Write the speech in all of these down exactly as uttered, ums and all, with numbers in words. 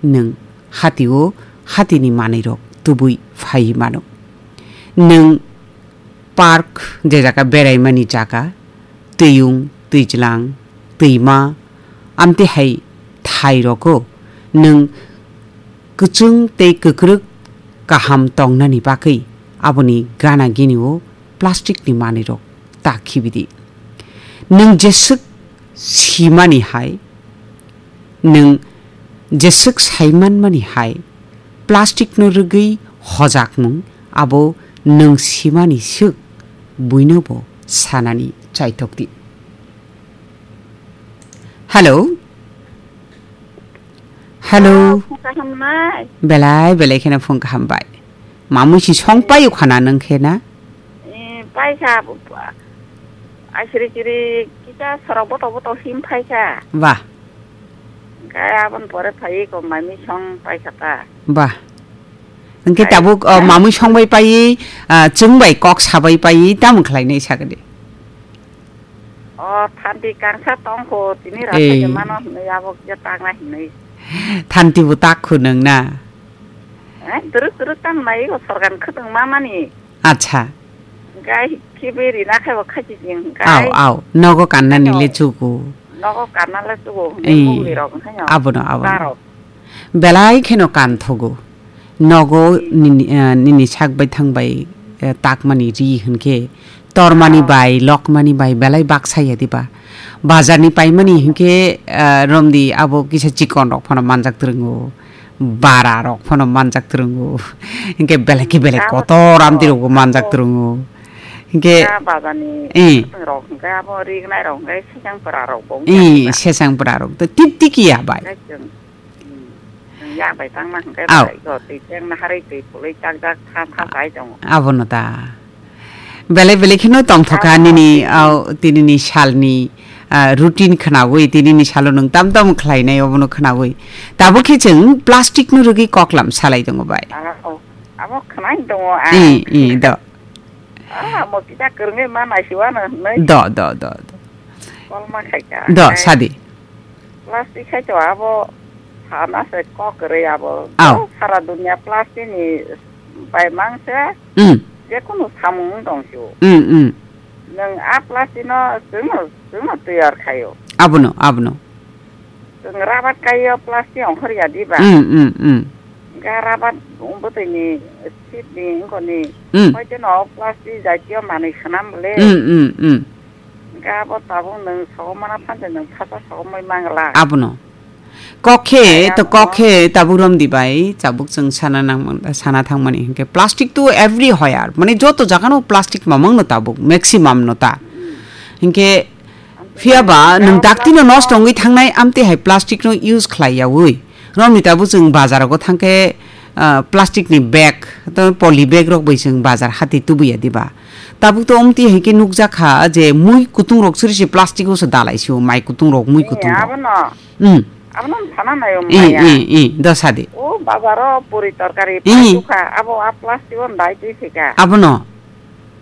nwng hatio hatini manwirok tubui phaiwi mano. Nwng park, je jaga beraimani jaga, twiyung, twijlang, twima, amtwi hai thai rogo nwng kwchwng tei kwkrwk kaham tongnani bagwi aboni gana gini o plastic ni manwi rok ta khibi di. Nwng jeswk simani hai, nwng jeswk saimanmani hai, plastic no rwgwi hojakmung abo nwng simani swk buino bo sanani chaitok di. Hello? Hello? Ah, phung kaham nai? Belai, belai kheno phung kaham bai. Mamui si song payo khana nang khe na? Eh, paikha, asiri chiri kisa sorok boto boto him phaikha. Wah. Kaya abon pore phai ko mami song paikha ta. Wah. Hingke tabuk, oh, mamui song bai pai, ah, chwng bai kok sabai pai, tamo khlai nai sakadi. O thanti kangsa tongkho, tini rasa Eh. Mano hinwi abo kisa takna hinwi. Thanti bo tak khu nang na? Eh, duruk duruk tam nai, o sorgan khutwng ma mani. Acha. Gai khibi rina khai bo khachi jing gai. Au, au, nogo kanna ni le chugo. Nogo kanna le chugo, Eh. Mugni rok khai no. Abono, abono. Darok. Belai kheno kan thogo. Nogo nini, eh, nini sak bai thang bai, eh, takmani ri hinkhe tormani bai, lokmani bai belai baksa ya diba? Bazar ni paimani hinkhe, eh, romdi abo kisa chikon rok phano manjak twrwngo, bara rok phano manjak twrwngo. Hinkhe belai khe belai kotor amdi rokbo manjak twrwngo. Hinkhe bazar ni eh. Rok hinkhe abo rignai rok hinkhe sesang pura rok bo hinkhe sesang pura rok to tip tiki ya bai. Yak bai tangma hwnkhe bai go, twi tengna harwi twi pulwi chak jak tha tha chai tongo. Abono ta. Belai belai kheno tongthokha nini, au, tinini salni, ah, routine khnaui, tinini salo nwng tam tam khlainai obono khnaui. Tabuk khe chwng plastic no rwgwi koklam salai tongo bai. Ah, oh. Abo khwnai tongo ang. I, i, do. Ah, mo kisa kwrwngwi ma naisiwano hwnwi. Do, do, do, do. Kolma khaika. Do, sadi. Plastic khai to abo sana se kok kwrwi abo. Au. Sara dunia plastic ni bai mang se. Mm. Je kunu samung wng tong sio. Mm, mm. Nwng a plastic no chwngno, chwngno tiyar khaio. Abono, abono. Chwng rabat kaio plastic ongkhor ya diba? Mm, mm, mm. Ga rabat bwtwi ni seat ni wngkoni. Mm. Hoite no plastic jatiyo manwi khwnam le. Mm, mm, mm. Ga bo tabuk nwng sogomana phante nwng phacha sogomoi mangla. Abono. Kokhe to kokhe tabuk romdi bai tabuk chwng sana nang sana thangmani hinkhe plastic to everywhere. Mane joto jagano plastic mamang no tabuk maximum no ta. Hinkhe Phiya ba nwng daktino nosto wngwi thangnai amtwi hai plastic no use khlai yaui. Romni tabuk chwng bazar rogo thangkhe, ah, plastic ni bag, to poly bag rok bai chwng bazar hati tubuya diba. Tabuk to omtwi hai khe nukjak kha je mui kutung rok suri se plastic o se dalai sio, mai kutung rok, mui kutung rok. Abono. Hmm. Abono sana nayo maya. I, i, i, do sadi. O bazar o puri torkari pai kha, abo a plastic o dai twi thika. Abono.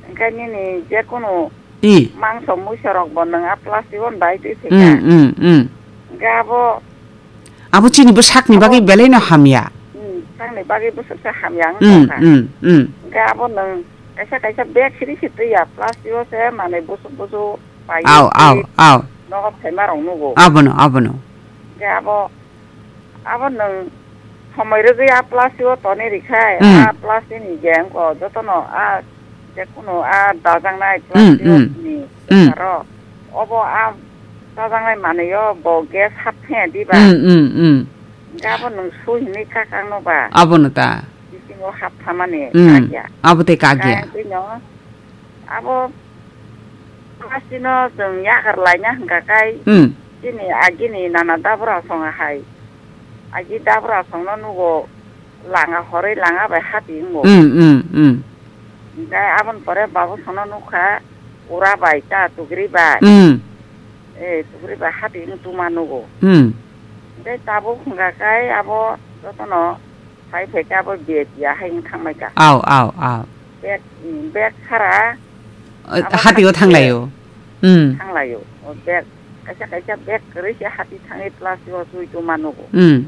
Engkai nini je kunu I. Mangso muiso rok bo nwng a plastic o dai twi thika. Mm, mm, mm. Ga bo abo chini bo sakni bagwi belai no hamya. Mm, sakni bagwi bo se hamya wng tongkha. Mm, mm. Ga bo nwng kaisa kaisa bag siri si twi ya plastic o se manwi busuk busuk pai. Au, au, au. Nogo phaima rok nugo. Abono, abono. Ga bo Abo nwng somoi rwgwi a plastic o tonwi rikha, hmm, a plastic ni je wngkha jotono a je kunu a dajaknai, hmm, plastic, hmm, ni, hmm, aro obo a dajaknai manwi o bo gas hap thaya diba? Hmm, hmm, hmm. Hwnkhe abo nwng sui hinwi kak ang no ba? Abono ta. Bisingo hap thamani, hmm, kak ya. Abo tei kak ya. Kak ya, tei no. Abo plastic no chwng yakar laina hwnkha kai, hmm, chini agini nana dabra songa hai. Agi dabra songno nugo langa horwi langa bai hati wngo. Hmm, hmm, hmm. Hwnkhe aboni pore babu songno nukha ura bai ta tugri bai. Hmm. Eh, tugri bai hati wng tuma nugo. Hmm. Hwnkhe tabuk hwnkha kai abo jotono Phai phai khe abo bag ya hai wng thang mai kha. Au, au, au. Bag, bag sara. O, abo hati o thang lai o. Hmm. Thang lai o. O bag, kaisa kaisa bag kwrwi se hati thangwi plastic o sui tuma nugo. Hmm.